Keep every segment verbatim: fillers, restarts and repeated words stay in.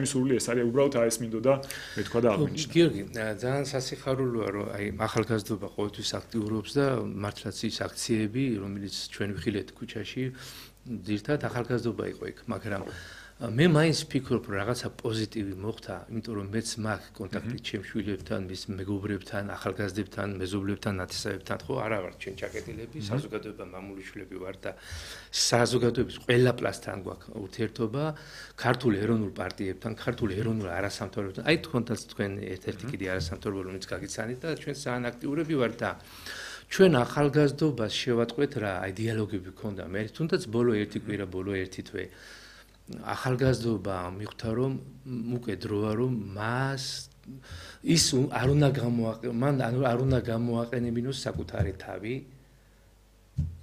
მისული ეს არის უბრალოდ აი ეს მინდოდა მე თქვა და აღნიშნა. გიორგი, ძალიან სასიხარულოა რომ აი ახალგაზრდობა ყოველთვის აქტიურობს და მართლაც ის აქციები, რომელიც ჩვენ ვიხილეთ ქუჩაში, ძირთად ახალგაზრდობა იყო იქ, მაგრამ მე მაინც ვფიქრობ რომ რაღაცა პოზიტივი მოხდა, იმიტომ რომ მეც მაქვს კონტაქტი ჩემ შვილებთან, მის მეგობრებთან, ახალგაზრდებთან, მეზობლებთან, ნათესავებთან, ხო, არა ვართ ჩვენ ჩაკეტილები, საზოგადოება მამული შვილები ვართ და საზოგადოების ყველა პლასთან გვაქვს ურთიერთობა, ქართულ ეროვნულ პარტიებთან, ქართულ ეროვნულ არასამთავრობოებთან, აი თქვენთანაც თქვენ ერთ-ერთი კიდე არასამთავრობო რომელიც გაგიცანით და ჩვენ ძალიან აქტიურები ვართ და ჩვენ ახალგაზრდობას შევატყვეთ რა, აი დიალოგები გქონდა მე, თუნდაც ბოლო ერთი კვირა, ბოლო ერთი თვე ახალგაზრდობა მიხვდა რომ უკვე დროა რომ მას ის არ უნდა გამოაყენო მან არ უნდა გამოაყენებინოს საკუთარი თავი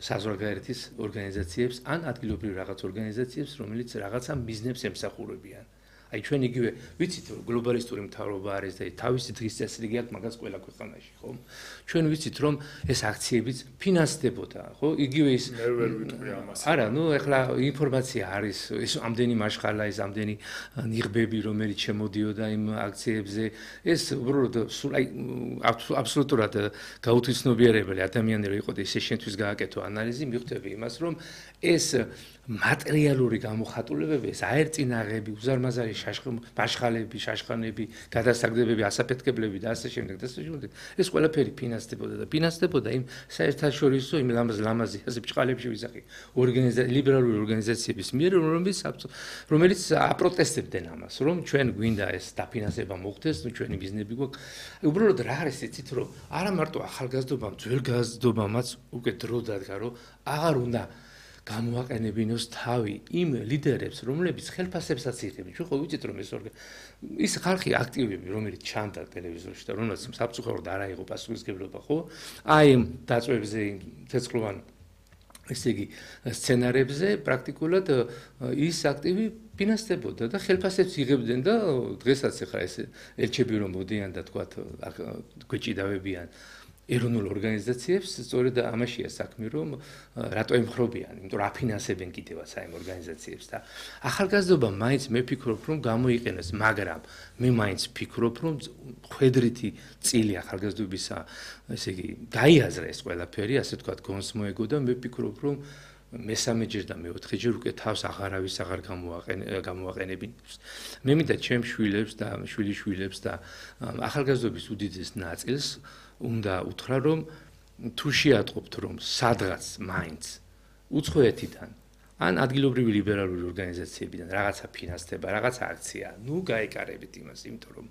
საზღვარგარეთის ორგანიზაციებს ან ადგილობრივ რაღაც ორგანიზაციებს რომელიც რაღაცა ბიზნესს ემსახურებიან აი ჩვენ იგივე ვიცით რომ გლობალისტური მთავრობა არის და თავისი დღის წესრიგი აქვს მაგას ყველა ქვეყანაში ხო ჩვენ ვიცით რომ ეს აქციებიც ფინანსდებოდა ხო იგივე ის მე ვერ ვიტყვი ამას არა ნუ ეხლა ინფორმაცია არის ეს ამდენი მარშხალა ის ამდენი ნიღბები რომელიც შემოდიოდა იმ აქციებზე ეს უბრალოდ სულ აი აბსოლუტურად გაუთვისნობიერებელი ადამიანები იყო და ისე შენთვის გააკეთო ანალიზი მიხვდები იმას რომ ეს მატერიალური გამოხატულებები ეს აერწინაღები უზარმაზარი მარშხალები შაშხანები გადასაგდებები ასაფეთქებლები და ასე შემდეგ და ასე შემდეგ ეს ყველაფერი ფინანსდებოდა და ფინანსდებოდა იმ საერთაშორისო იმ ლამაზი ასე ბჭყალებში ვიზახი ორგანიზაცია ლიბერალური ორგანიზაციების მიერ რომელიც რომელიც აპროტესტებდნენ ამას რომ ჩვენ გვინდა ეს დაფინანსება მოხდეს ნუ ჩვენი ბიზნესები გვაქვს უბრალოდ რა არის იცით რომ არა მარტო ახალგაზრდობამ ძველ გაზრდობამაც უკვე დრო დადგა რომ აღარ უნდა გამოაყენებინოს თავი იმ ლიდერებს, რომლებიც ხელფასებსაც იღებენ. ჩვენ ხო ვიცით რომ ეს ის ხალხი აქტივები, რომელიც ჩანდა ტელევიზორში და რომელსაც საფუძვლად არ აიღო პასუხისმგებლობა, ხო? აი დაწვებზე ცეცხლოვან ესე იგი სცენარებზე პრაქტიკულად ის აქტივი ფინანსდებოდა და ხელფასებს იღებდნენ და დღესაც ახლა ეს ელჩები რომ მოდიან და თქვათ გვეჭიდავებიან ეროვნულ ორგანიზაციებს სწორედ ამაშია საქმე რომ რატო ემხრობიან, იმიტომ რომ აფინანსებენ კიდევაც აი ამ ორგანიზაციებს და ახალგაზრდობა მაინც მე ვფიქრობ რომ გამოიყენოს, მაგრამ მე მაინც ვფიქრობ რომ ხვედრითი წილი ახალგაზრდობისა, ესე იგი, გაიაზრა ეს ყველაფერი, ასე ვთქვათ, გონს მოეგო და მე ვფიქრობ რომ მესამეჯერ და მეოთხეჯერ უკვე თავს აღარავის აღარ გამოაყენებინებს. მე მინდა ჩემ შვილებს და შვილიშვილებს და ახალგაზრდობის უდიდეს ნაწილს უნდა უთხრა რომ თუ შეატყობთ რომ სადღაც მაინც უცხოეთიდან ან ადგილობრივი ლიბერალური ორგანიზაციებიდან რაღაცა ფინანსდება, რაღაცა აქცია, ნუ გაეკარებით იმას, იმიტომ რომ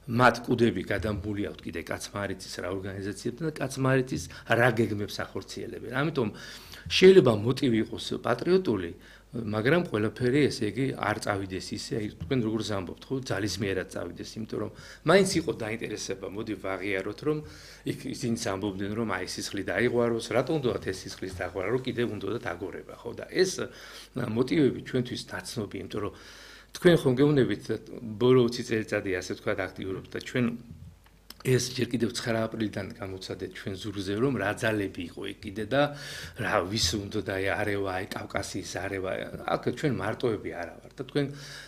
მათ კუდები გადამბული აქვთ კიდე კაცმარიცის რა ორგანიზაციებთან და კაცმარიცის რა გეგმებს ახორციელებენ. ამიტომ შეიძლება მოტივი იყოს პატრიოტული, მაგრამ ყველაფერი ესე იგი არ წავიდეს ისე, აი თქვენ როგორც ამბობთ, ხო, ძალისმიერად წავიდეს, იმიტომ რომ მაინც იყო დაინტერესება, მოდი ვაღიაროთ, რომ იქ ისინი ამბობდნენ, რომ აი სისხლი დაიღვაროს, რატომ უნდათ ეს სისხლის დაღვარა, რომ კიდევ უნდათ აგორება, ხო და ეს მოტივები ჩვენთვის ნაცნობი, იმიტომ რომ თქვენ ხომ გეუბნებით ბოლო ოცი წელიწადი ასე ვთქვათ აქტიურობთ და ჩვენ ეს ჯერ კიდევ ცხრა აპრილიდან გამოცადეთ ჩვენ ზურგზე რომ რა ძალები იყო იქ კიდე და რა ვის უნდა და არევა აი კავკასიის არევა აქ ჩვენ მარტოები არა ვართ და თქვენ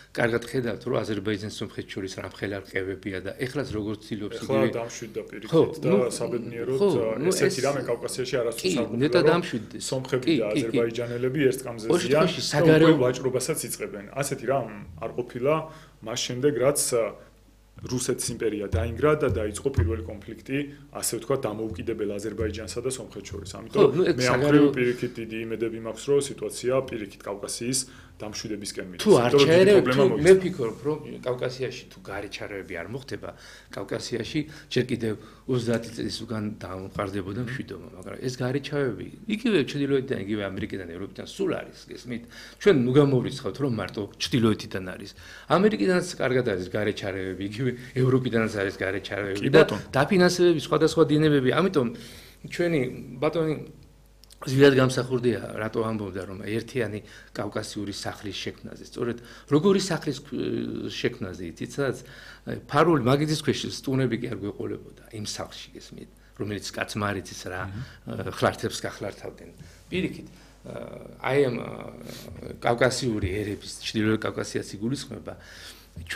კარგად ხედავთ რომ აზერბაიჯანს სომხეთს შორის რამხელა რყევებია და ეხლაც როგორც ცდილობს იგივე ეხლა დამშვიდდა პირიქით და საბედნიეროდ ესეთი რამე კავკასიაში არასდროს არ გქონდა ნეტა დამშვიდდეს სომხები და აზერბაიჯანელები ერთ კამზე ზიან და ვაჭრობასაც იწყებენ ასეთი რამ არ ყოფილა მას შემდეგ რაც რუსეთის იმპერია დაინგრა და დაიწყო პირველი კონფლიქტი, ასე ვთქვათ, დამოუკიდებელ აზერბაიჯანსა და სომხეთს შორის. ამიტომ მე ამ მხრივ პირიქით დიდი იმედები მაქვს, რომ სიტუაცია პირიქით კავკასიის დამშვიდებისკენ მიდის. თუ არ ჩაერევთ, მე ვფიქრობ, რომ კავკასიაში თუ გარეჩარევები არ მოხდება, კავკასიაში ჯერ კიდევ ოცდაათი წლის უკან დამყარდებოდა მშვიდობა, მაგრამ ეს გარეჩავები, იგივე ჩრდილოეთიდან, იგივე ამერიკიდან, ევროპიდან სულ არის, გესმით? ჩვენ ნუ გამოვრიცხავთ, რომ მარტო ჩრდილოეთიდან არის. ამერიკიდანაც კარგად არის გარეჩარევები, იგივე ევროპიდანაც არის გარეჩარევები და დაფინანსებები სხვადასხვა დინებები. ამიტომ ჩვენი ბატონი ზვიად გამსახურდია, რატო ამბობდა რომ ერთიანი კავკასიური სახლის შექმნაზე. სწორედ როგორი სახლის შექმნაზე იცით, სადაც ფარული მაგიდის ქვეშ სტუნები კი არ გვეყოლებოდა იმ სახლში, გესმით, რომელიც კაცმარიცის რა ხლართებს გახლართავდნენ. პირიქით აი ამ კავკასიური ერების, ჩრდილოეთ კავკასიას იგულისხმება